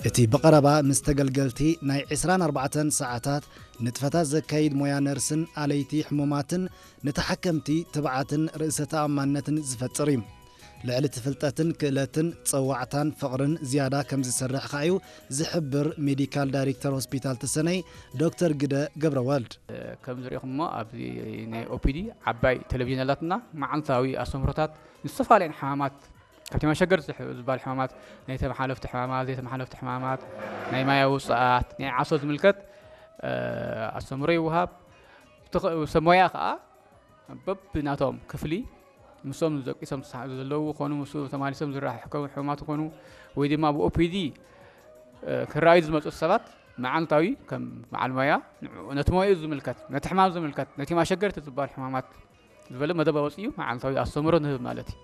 እቲ ብቐረባ ምስ ተገልገልቲ ናይ ዕስራን ኣርባዕተን ሰዓታት ንጥፈታት ዘካይድ ሞያ ነርስን ኣለይቲ ሕሙማትን ንተሓከምቲ ትብዓትን ርእሰ ተኣማንነትን ዝፈጥር እዩ። ልዕሊ እቲ ፍልጠትን ክእለትን ጸዋዕታን ፍቕርን ዝያዳ ከም ዝሰርሕ ከኣ እዩ ዝሕብር ሜዲካል ዳይሬክተር ሆስፒታል ተሰነይ ዶክተር ግደ ገብረወልድ። ከም ዝሪእኹሞ ኣብዚ ናይ ኦፒዲ ዓባይ ቴሌቪዥን ኣላትና። መዓልታዊ ኣስተምህሮታት ንዝተፈላለዩ ሕማማት፣ ካብቲ መሸገር ዝበሃል ሕማማት፣ ናይ ተመሓለፍቲ ሕማማት፣ ዘይተመሓለፍቲ ሕማማት፣ ናይ ማያዊ ውፅኣት፣ ናይ ዓሶ ዝምልከት ኣስተምህሮ ይወሃብ። ሰብ ሞያ ከዓ በብናቶም ክፍሊ ምስኦም ደቂሶም ዘለዉ ኮኑ፣ ምስ ተማሊሶም ዝረከቡ ሕሙማት ኮኑ፣ ወይ ድማ ብኦፒዲ ክረኣዩ ዝመፁ ሰባት መዓልታዊ ከም በዓል ሞያ ንዕኡ፣ ነቲ ሞያኡ ዝምልከት፣ ነቲ ሕማም ዝምልከት፣ ነቲ ማሸገርቲ ዝበሃል ሕማማት ዝበለ መደብ ኣወፂኡ መዓልታዊ ኣስተምህሮ ንህብ ማለት እዩ።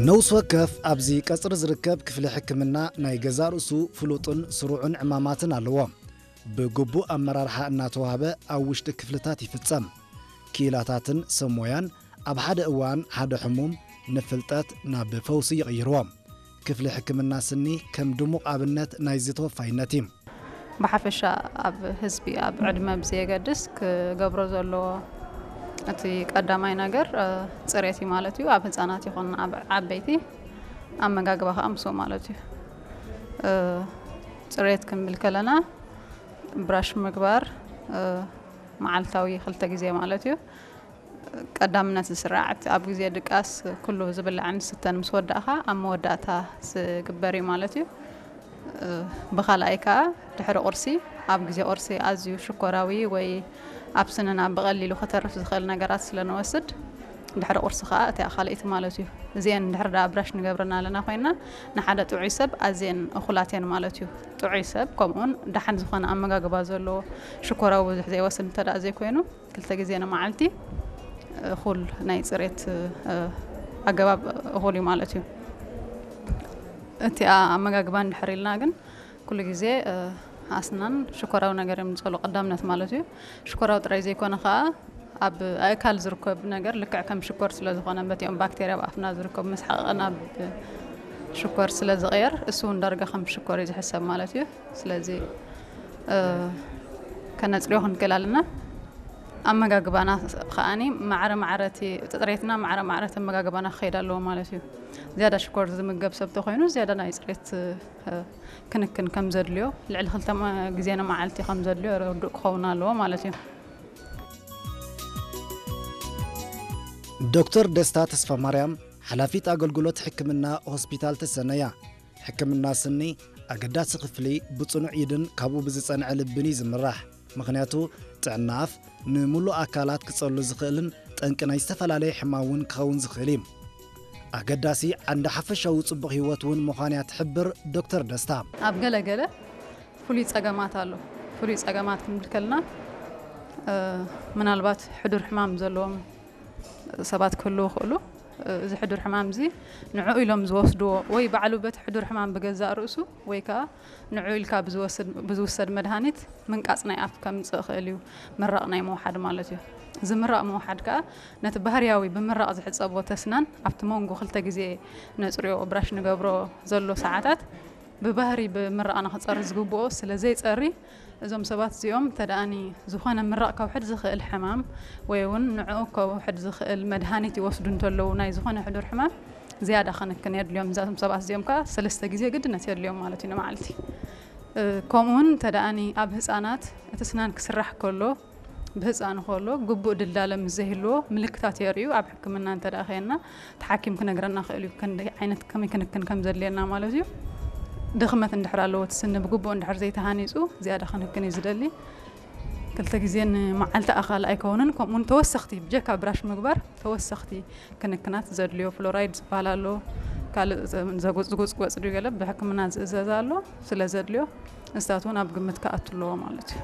ነውስ ወከፍ ኣብዚ ቀጽሪ ዝርከብ ክፍሊ ሕክምና ናይ ገዛእ ርእሱ ፍሉጥን ስሩዕን ዕማማትን ኣለዎ። ብግቡእ ኣመራርሓ እናተዋህበ ኣብ ውሽጢ ክፍልታት ይፍጸም። ክኢላታትን ሰብ ሞያን ኣብ ሓደ እዋን ሓደ ሕሙም ንፍልጠት ናብ ፈውሲ ይቕይርዎ። ክፍሊ ሕክምና ስኒ ከም ድሙቕ ኣብነት ናይዚ ተወፋይነት እዩ። ብሓፈሻ ኣብ ህዝቢ ኣብ ዕድመ ብዘየገድስ ክገብሮ ዘለዎ እቲ ቀዳማይ ነገር ጽሬት እዩ ማለት እዩ። ኣብ ህፃናት ይኹን ኣብ ዓበይቲ ኣመጋግባ ከዓ ምስኡ ማለት እዩ። ጽሬት ክንብል ከለና ብራሽ ምግባር መዓልታዊ ክልተ ግዜ ማለት እዩ። ቀዳምነት ዝስራዕ እቲ ኣብ ግዜ ድቃስ ኩሉ ዝብላዕን ዝስተን ምስ ወዳእኻ ኣብ መወዳእታ ዝግበር እዩ ማለት እዩ። ብኻልኣይ ከዓ ድሕሪ ቁርሲ ኣብ ግዜ ቁርሲ ኣዝዩ ሽኮራዊ ወይ ኣብ ስንና ብቐሊሉ ክተርፍ ዝኽእል ነገራት ስለ ንወስድ ድሕሪ ቁርሲ ከዓ እቲኣ ካልኣይቲ ማለት እዩ። እዚአን ድሕሪ ዳ ብራሽ ንገብረን ኣለና ኮይና ንሓደ ጥዑይ ሰብ ኣዝየን እኹላት እየን ማለት እዩ። ጥዑይ ሰብ ከምኡውን ደሓን ዝኾነ ኣመጋግባ ዘለዎ ሽኮራዊ ብዙሕ ዘይወስድ እንተ ደኣ ዘይኮይኑ ክልተ ግዜ ንመዓልቲ እኹል ናይ ፅሬት ኣገባብ እኹል እዩ ማለት እዩ። እቲ ኣመጋግባ እንድሕር ኢልና ግን ኩሉ ግዜ ኣስናን ሽኮራዊ ነገር እዮም ዝፀሉ ቀዳምነት ማለት እዩ። ሽኮራዊ ጥራይ ዘይኮነ ከዓ ኣብ ኣእካል ዝርከብ ነገር ልክዕ ከም ሽኮር ስለ ዝኾነ በቲኦም ባክቴርያ ኣብ ኣፍና ዝርከቡ መስሓቕቕን ኣብ ሽኮር ስለ ዝቕየር እሱ እውን ዳርጋ ከም ሽኮር እዩ ዝሕሰብ ማለት እዩ። ስለዚ ከነፅርዮ ክንክእል ኣለና። ኣመጋግባና ከዓኒ ማዕረ ማዕረ እቲ ፅሬትና ማዕረ ማዕረ እቲ ኣመጋግባና ክኸይድ ኣለዎ ማለት እዩ። ዝያዳ ሽኮር ዝምገብ ሰብ ተኮይኑ ዝያዳ ናይ ፅሬት ክንክን ከም ዘድልዮ ልዕሊ ክልተ ግዜ ንመዓልቲ ከም ዘድልዮ ርዱእ ክኸውን ኣለዎ ማለት እዩ። ዶክተር ደስታ ተስፋ ማርያም ሓላፊት ኣገልግሎት ሕክምና ሆስፒታል ተሰነያ ሕክምና ስኒ ኣገዳሲ ክፍሊ ብጽኑዕ ኢድን ካብኡ ብዝጸንዐ ልብን እዩ ዝምራሕ። ምኽንያቱ ጥዕና ኣፍ ንምሉእ ኣካላት ክጸሉ ዝኽእልን ጠንቂ ናይ ዝተፈላለየ ሕማም እውን ክኸውን ዝኽእል እዩ። ኣገዳሲ ዓንዲ ሓፈሻዊ ጽቡቕ ህይወት እውን ምዃን እያ ትሕብር ዶክተር ደስታ። ኣብ ገለ ገለ ፍሉይ ጸገማት ኣሎ። ፍሉይ ጸገማት ክንብል ከለና ምናልባት ሕዱር ሕማም ዘለዎም ሰባት ክህልዉ ይኽእሉ። እዚ ሕዱር ሕማም እዚ ንዕኡ ኢሎም ዝወስድዎ ወይ ባዕሉ በቲ ሕዱር ሕማም ብገዛእ ርእሱ ወይ ከዓ ንዕኡ ኢልካ ብዝወስድ መድሃኒት ምንቃፅ ናይ ኣፍ ከምፅእ ይኽእል እዩ። ምራቕ ናይ ምውሓድ ማለት እዩ። እዚ ምራቕ ምውሓድ ከዓ ነቲ ባህርያዊ ብምራቕ ዝሕፀቦ ተስናን ኣብቲ መንጎ ክልተ ግዜ ነፅርዮ ብራሽ ንገብሮ ዘሎ ሰዓታት ብባህሪ ብምራቕ ንክፀሪ ዝግብኦ ስለ ዘይፀሪ እዞም ሰባት እዚኦም እንተ ደኣኒ ዝኾነ ምራቕ ከውሕድ ዝኽእል ሕማም ወይ እውን ንዕኡ ከውሕድ ዝኽእል መድሃኒት ይወስዱ እንተለዉ ናይ ዝኾነ ሕዱር ሕማም ዝያዳ ክንክን የድልዮም። እዛቶም ሰባት እዚኦም ከዓ ሰለስተ ግዜ ግድነት የድልዮም ማለት እዩ ንመዓልቲ። ከምኡውን እንተ ደኣኒ ኣብ ህፃናት እቲ ስናን ክስራሕ ከሎ ብህፃኑ ከሎ ግቡእ ድልዳለ ምስ ዘይህልዎ ምልክታት የርእዩ። ኣብ ሕክምና እንተ ደኣ ከየና እቲ ሓኪም ክነግረና ክእል እዩ ክንደይ ዓይነት ከመይ ክንክን ከም ዘድልየና ማለት እዩ። ድኽመት እንድሕር ኣለዎ እቲ ስኒ ብግቡእ እንድሕር ዘይተሃኒፁ ዝያዳ ክንክን እዩ ዝደሊ። ክልተ ግዜ ንመዓልቲ ኣኻል ኣይከውንን። ከምኡውን ተወሰኽቲ ብጀካ ብራሽ ምግባር ተወሰኽቲ ክንክናት ዘድልዮ ፍሎራይድ ዝበሃል ኣሎ። ካልእ ዘጉፅጉፅ ጎፅ ድዩ ገለ ብሕክምና ዝእዘዝ ኣሎ ስለ ዘድልዮ ንስታት እውን ኣብ ግምት ክኣቱ ኣለዎ ማለት እዩ።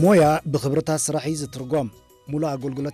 ሞያ ብኽብርታት ስራሕ እዩ ዝትርጎም። ሙሉእ ኣገልግሎት